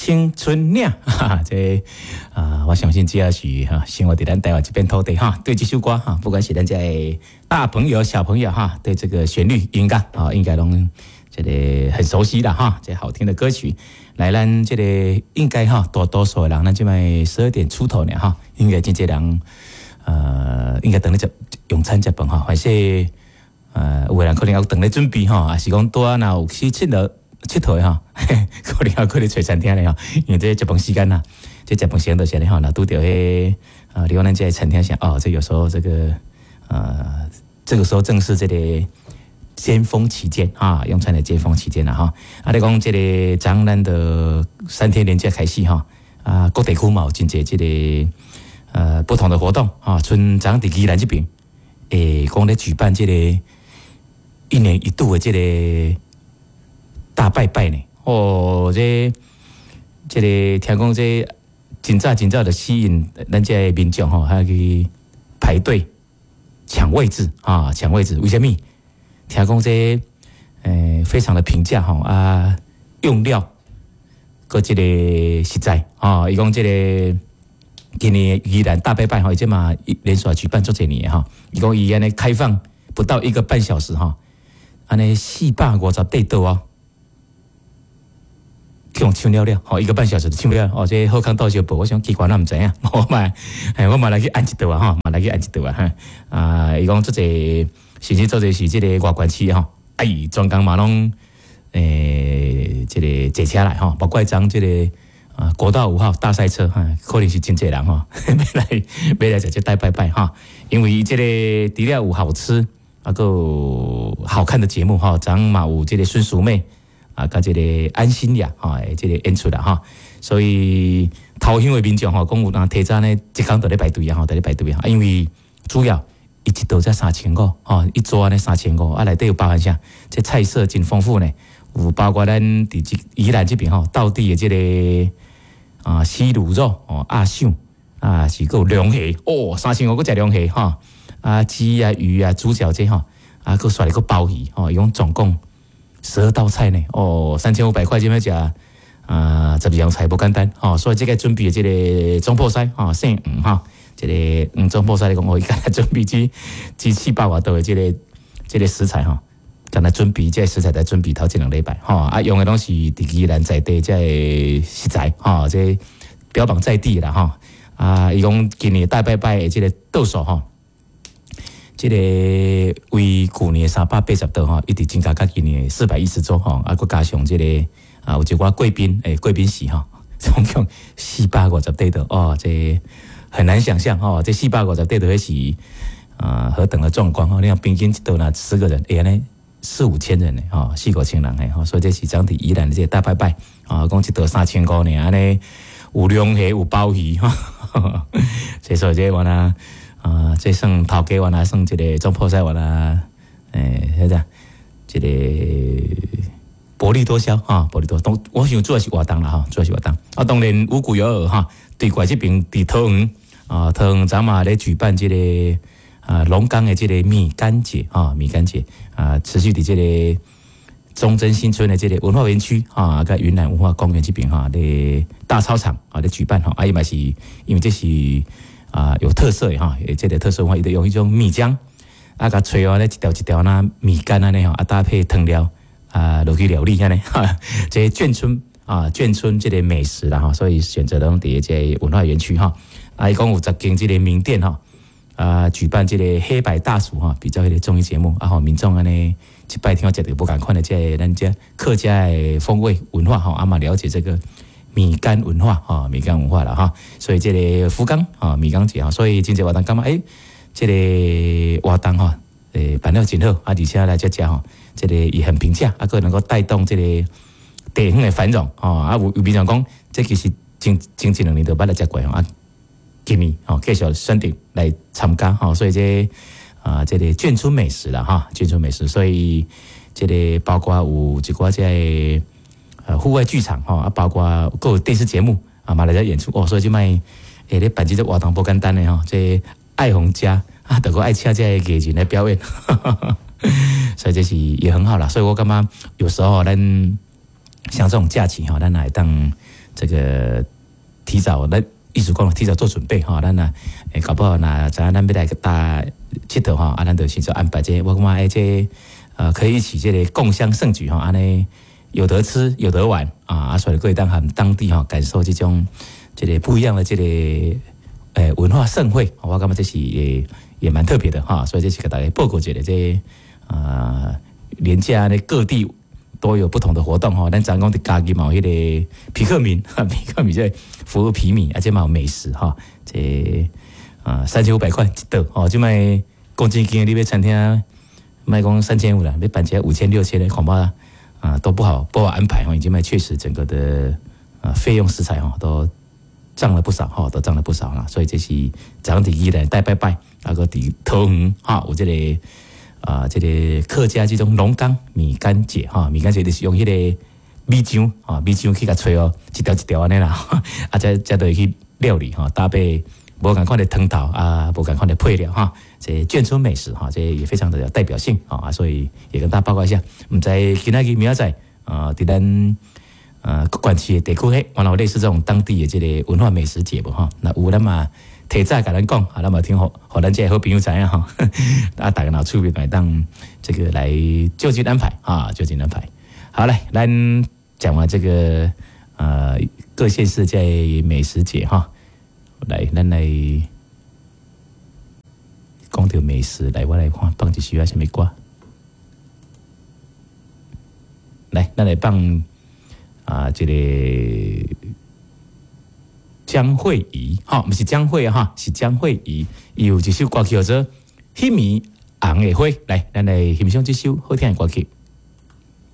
青春嶺，哈，這啊，我相信只要是哈生活佇咱台灣這片土地哈，對這首歌哈，不管是咱這大朋友小朋友哈，對這個旋律音樂啊，應該攏這個很熟悉啦哈，這好聽的歌曲。來，咱這個應該哈，大多數的人，咱這擺12點出頭呢哈，應該真濟人應該等咧食用餐食飯哈，還是有的人可能猶當咧準備吼，抑是講拄仔若有去𨑨迌𨑨迌的吼，可能猶閣咧揣餐廳咧吼，因為這食飯時間啦，這食飯時間就是按呢吼，若拄著彼啊，你講咱這個餐廳啥哦，這有時候這個這個時候正是這個尖峰期間啊，用餐的尖峰期間啦吼。啊，你講這個昨咱的3天連假開始吼，啊，各地區嘛有真濟這個不同的活動啊，賰昨佇宜蘭這邊，講咧舉辦這個一年一度的這個大拜拜呢。哦，這這個聽講這真早真早就吸引咱這個民眾吼，還去排隊搶位置啊，搶位置。為啥物？聽講這非常的平價吼啊，用料閣這個實在啊，伊講這個今年宜蘭大拜拜吼，這嘛連續舉辦足濟年吼，伊講伊按呢開放不到一個半小時吼，按呢450塊桌哦，去予搶了了，吼一個半小時就搶了，哦，這好康逗相報，我想奇怪，咱毋知影，我嘛，我嘛來去按一桌啊，吼，嘛來去按一桌啊，哈，啊，伊講足濟，甚至足濟是這個外縣市吼，哎，專工嘛攏這個坐車來吼，包括昨這個啊國道5號大賽車，哈，可能是真濟人吼，欲來欲來食這大拜拜哈，因為這個除了有好吃啊，閣有好看的節目吼，昨嘛有這個孫淑媚啊，佮這個安心亞吼，這個演出啦吼，所以頭香的民眾吼，講有人提早呢，這工就咧排隊啊，吼，佇咧排隊啊，因為主要伊一桌才三千五，吼，一桌按呢三千五，啊內底有包含啥？這菜色真豐富呢，有包括咱佇這宜蘭這邊吼，道地的這個啊西滷肉哦，鴨賞啊是閣有龍蝦哦，三千五閣食龍蝦吼，啊雞啊魚啊豬腳這吼，啊閣煞來閣鮑魚吼，伊講總共12道菜呢，哦，3500塊這欲食啊12樣菜無簡單吼，所以這個準備的這個總鋪師吼，姓黃吼，這個黃總鋪師來講，哦，伊敢若準備這四百外道的這個食材吼，敢若準備這個食材來準備頭這2禮拜吼，啊用的攏是佇宜蘭在地這個食材吼，這標榜在地啦吼，啊，伊講今年大拜拜的這個桌數吼。這個為舊年380桌吼，一直增加到今年410桌吼，啊，閣加上這個啊，有一寡貴賓誒，貴賓席吼，總共450塊桌哦，這很難想象吼，這四百五十塊桌彼是啊何等的壯觀吼！你看平均一桌若10個人，欸，按呢四五千人呢，吼，四五千人呢，吼，所以這是昨佇宜蘭的這個大拜拜啊，講一桌三千五呢，按呢有龍蝦有鮑魚，哈，這所以這原來啊，這算頭家原來算一個總鋪師原來，欸，彼個這個薄利多銷哈，薄利多銷。我想主要是活動啦吼，主要是活動。啊，當然無獨有偶哈，對過這邊佇桃園啊，桃園昨嘛咧舉辦這個啊龍崗的這個米干節啊，米干節啊，持續佇這個忠貞新村的這個文化園區啊，佮雲南文化公園這邊哈，咧大操場啊咧舉辦吼，啊伊嘛是因為這是啊有特色的哈，這個特色文化，伊就用彼種米漿啊，共炊按呢一條一條若米干按呢吼，啊搭配湯料啊落去料理按呢，哈，這個眷村啊眷村這個美食啦吼，所以選擇攏佇這個文化園區哈，啊伊講有10間這個名店吼，啊舉辦這個黑白大廚哈，比較彼個綜藝節目啊，予民眾按呢一擺聽食著無仝款的這個咱這客家的風味文化吼，啊嘛了解這個米干文化吼，米干文化啦哈，所以這個福岡啊米干節哈，所以真濟活動感覺欸，這個活動吼，辦了真好啊，而且來遮食吼，這個也很平價，啊，閣能夠帶動這個地方的繁榮吼，啊有民眾講，這其實前前一兩年就捌來食過吼，啊，今年吼繼續選擇來參加吼，所以這啊這個眷村美食啦哈，眷村美食，所以這個包括有一寡這個戶外劇場吼，啊，包括閣有電視節目啊，嘛來遮演出哦，所以這擺欸咧辦這個活動無簡單的吼，這愛予食啊，著閣愛請這個藝人來表演，所以這是也很好啦。所以我感覺有時候咱像這種假期吼，咱會當這個提早咱意思講提早做準備吼，咱若會搞不好若知影咱欲來佗𨑨迌吼，啊，咱就先做安排這個，我感覺欸這可以一起這個共襄盛舉吼，按呢有得吃有得玩啊，啊，所以閣會當和當地吼感受這種這個不一樣的這個文化盛會，我感覺這是也蠻特別的哈，所以這是共大家報告一下這啊連假呢各地都有不同的活動吼，咱昨昏講佇嘉義嘛有彼個皮克敏，皮克敏這服務皮米，啊這嘛有美食哈，這啊3500塊一桌吼，這擺講真經你欲餐廳，莫講3500啦，欲辦一五千六千的恐怕啊都不好安排吼，這擺確實整個的啊費用食材吼都漲了不少吼，都漲了不少啦，所以這是昨昏佇宜蘭帶拜拜，啊閣佇桃園哈有這個啊這個客家這種龍崗米干節哈，米干節就是用彼個米漿啊米漿去共炊哦，一條一條按呢啦，啊才才會去料理吼，搭配無仝款的湯頭啊，無仝款的配料哈，這眷村美食哈，這也非常的有代表性啊，所以也跟大家報告一下，毋知今仔日明仔載啊，佇咱各縣市的地區，彼原來有類似這種當地的這個文化美食節無吼？若有咱嘛提早共咱講，啊，咱嘛聽予予咱這個好朋友知影吼，啊，大家若趣味會當這個來就近安排啊，就近安排。好來，咱講完這個各縣市在美食節哈，來，咱來講著美食，來，我來看放一首啥物歌。來，咱來放啊，這個江蕙怡，哈，毋是江蕙哈，是江蕙怡，伊有一首歌曲叫做《彼暝紅的花》，來，咱來欣賞這首好聽的歌曲。